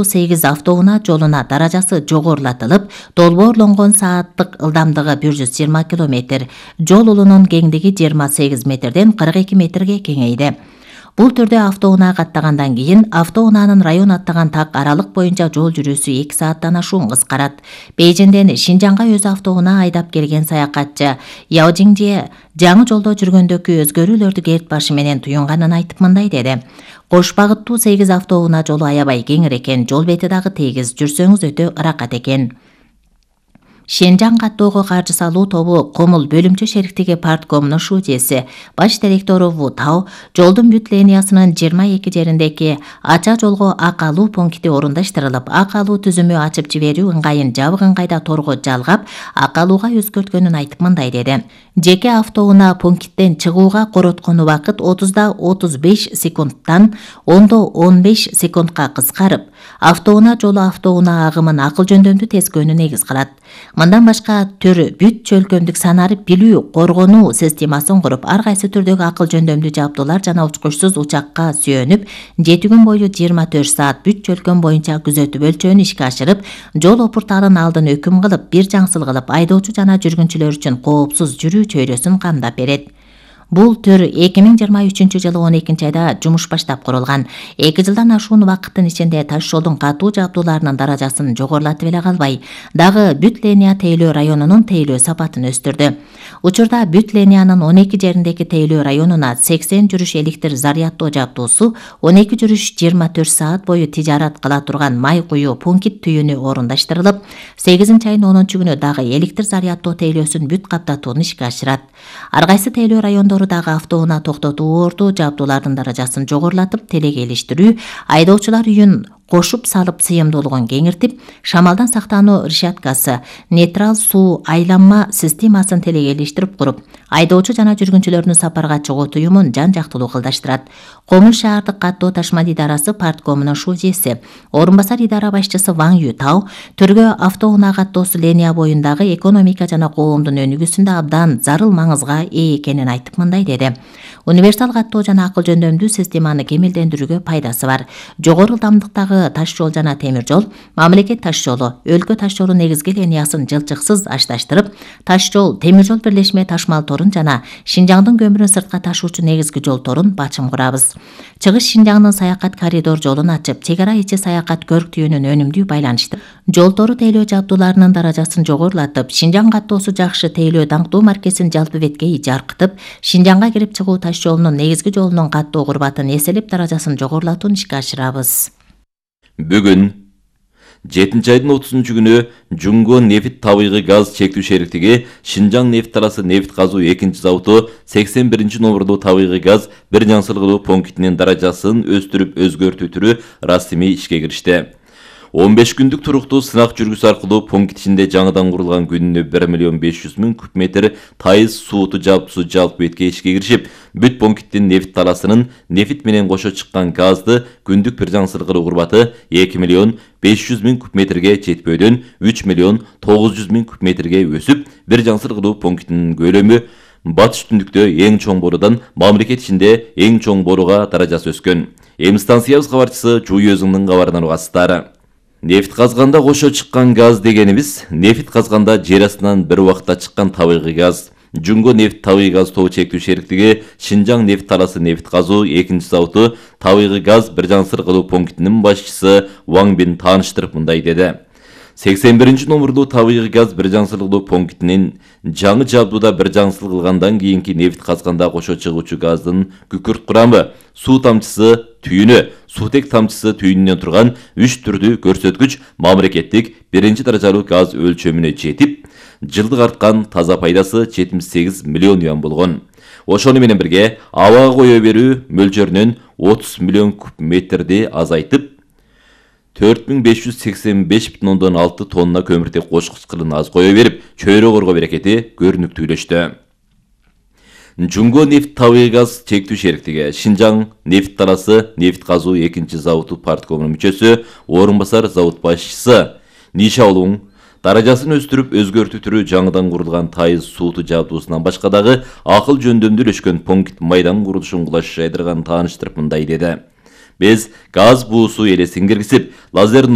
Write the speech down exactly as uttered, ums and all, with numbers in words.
сегиз автоунаа жолуна даражасы жогорулатылып, долбоорлонгон сааттык ылдамдыгы бир жүз жыйырма километр, жол улунун кеңдиги жыйырма сегиз метрден кырк эки метрге кеңейди. Бул түрдө автоунаа каттагандан кийин автоунаанын район аттаган так аралык боюнча жол жүрүүсү эки сааттан ашуун кыскарат. Бейжиңден Шинжаңга өз автоунаа айдап келген саякатчы Яо Жиңжие жаңы жолдо жүргөндөгү өзгөрүүлөрдү керт башы менен туюнганын айтып мындай деди. Кош багыттуу сегиз автоунаа жолу аябай кеңир экен, жол бети дагы тегиз, жүрсөңүз өтө ыракат экен. Шинжаң каттоого каржы салуу тобу Комул бөлүмчө шериктиги парткомунун шужеси, баш директору Ву Тао жолдун бүт линиясынын жыйырма эки жериндеги ача жолго ак алуу пункти орундаштырылып, ак алуу түзүмү ачып жиберүү ыңгайын жабык ыңгайда торго жалгап, ак алууга өзгөрткөнүн айтып мындай деди. Жеке автоунаа пункттен чыгууга короткон убакыт отузда отуз беш секундтан ондо он беш секундка кыскарып, автоунаа жолу автоунаа агымын акыл жөндөмдүү тескөөнү негиз кылат. Мындан башка төр бүт чөлкөмдүк санарып билүү, коргонуу системасын куруп, ар кайсы түрдөгү акыл жөндөмдүү жабдуулар жана учкучсуз учакка сүйөнүп, жети күн бою жыйырма төрт саат бүт чөлкөм боюнча күзөтүп өлчөөнү ишке ашырып, жол опуртаарын алдын өкүм кылып, бир жаңсыл кылып, айдоочу жана жүргүнчүлөр үчүн коопсуз жүрүү чөйрөсүн камдап берет. Бул төр эки миң жыйырма үчүнчү жылы он экинчи айда жумуш баштап курулган. эки жылдан ашуун убакыттын ичинде таш жолдун катуу жабдууларынын даражасын жогорулатып эле калбай, дагы бүт линия тейлөө районунун тейлөө сапатын өстүрдү. Учурда бүт линиянын он эки жериндеги тейлөө районуна сексен жүрүш электр заряддоо жабдуусу, он эки жүрүш жыйырма төрт саат бою тижарат кыла турган май куюу пункт түйүнү орундаштырылып, сегизинчи айдын онунчу күнү дагы электр заряддоо тейлөөсүн бүт каптатууну ишке ашырат. Ар кайсы тейлөө райондору дагы автоунаа токтотуу орду жабдуулардын даражасын жогорулатып, телегейлештирүү, айдоочулар үйүн кошуп салып сыйымдуулугун кеңиртип, шамалдан сактануу решеткасы, нейтрал суу айланма системасын телегейлештирип куруп, айдоочу жана жүргүнчүлөрдүн сапарга чыгуу туюмун жан жактылуу кылдаштырат. Комул шаардык каттоо ташмал идарасы парткомунун шужеси, орун басар идара башчысы Ван Ютау төргө автоунаа каттоосу линия боюндагы экономика жана коомдун өнүгүүсүндө абдан зарыл маңызга ээ экенин айтып мындай деди. Универсал каттоо жана акыл жөндөмдүү системаны кемелдендирүүгө пайдасы бар. Жогору ылдамдыктагы таш жол жана темир жол, мамлекет таш жолу, өлкө таш жолу негизги линиясын жылчыксыз ашташтырып, таш жол, темир жол бирлешме ташмал торун жана Шинжаңдын көмүрүн сыртка ташуучу негизги жол торун бачым курабыз. Чыгыш Шинжаңдын саякат коридор жолун ачып, чек ара ичи саякат көрктүйүнүн өнүмдүү байланыштырып, жол тору тейлөө жабдууларынын даражасын жогорулатып, Шинжаң каттоосу жакшы тейлөө даңктуу маркесин жалпы беткей жаркытып, Шинжаңга кирип чыгуу таш жолунун негизги жолунун каттоо курбатын эселеп даражасын жогорулатууну ишке ашырабыз. Бүгүн жетинчи айдын отузунчу күнү Жуңго нефт табигый газ чектүү шериктиги Шинжаң нефт таласы нефт казуу экинчи заводу сексен биринчи номердуу табигый газ бир жаңсыл кылуу пунктинин даражасын өстүрүп өзгөртүү түрү расмий ишке киришти. он беш күндүк туруктуу сынак жүргүзүү аркылуу пункт ичинде жаңыдан курулган күнүнө бир миллион беш жүз миң куб метр тайыз сууту жабдуусу жалпы бетке ишке киришип, бүт пункттин нефт таласынын нефт менен кошо чыккан газды күндүк бир жаңсыл кылуу курбаты эки миллион беш жүз миң куб метрге жетпөөдөн үч миллион тогуз жүз миң куб метрге өсүп, бир жаңсыл кылуу пунктинин көлөмү батыш түндүктө эң чоң боруудан мамлекет ичинде эң чоң борууга даражасы өскөн. Эми станциябыз кабарчысы Жуй өзүңдүн кабарынан угасыздар. Нефт казганда кошо чыккан газ дегенибиз, нефт казганда жер астынан бир убакта чыккан табигый газ. Жуңго нефт табигый газ тобу чектүү шериктиги Шинжаң нефт таласы нефт казуу экинчи заводу табигый газ бир жаңсыл кылуу пунктинин башчысы Ван Бин тааныштырып мындай деди. сексен биринчи номердуу табигый газ бир жаңсыл кылуу пунктинин жаңы жабдууда бир жаңсыл кылгандан кийинки нефт казганда кошо чыгуучу газдын күкүрт курамы, суу тамчысы түйүнү, суутек тамчысы түйүнүнөн турган үч түрдүү көрсөткүч мамлекеттик биринчи даражалуу газ өлчөмүнө жетип, жылдык арткан таза пайдасы жетимиш сегиз миллион юан болгон. Ошону менен бирге абага кое берүү мөлчөрүнөн отуз миллион куб метрди азайтып, төрт миң беш жүз сексен беш бүтүн ондон алты тонна көмүртек кошкуч кылын аз кое берип, чөйрө коргоо берекети көрүнүктүүлөштү. Жуңго нефт табигый газ чектүү шериктиги Шинжаң нефт таласы нефт казуу экинчи заводу парткомунун мүчөсү, орун басар завод башчысы Ниша Олуң даражасын өстүрүп өзгөртүү түрү жаңыдан курулган тайыз сууту жабдуусунан башка дагы акыл жөндөмдүүлөшкөн пункт майдан курулушун кулаш жайдырганын тааныштырып мындай деди. Биз газ буусу элесин киргизип, лазер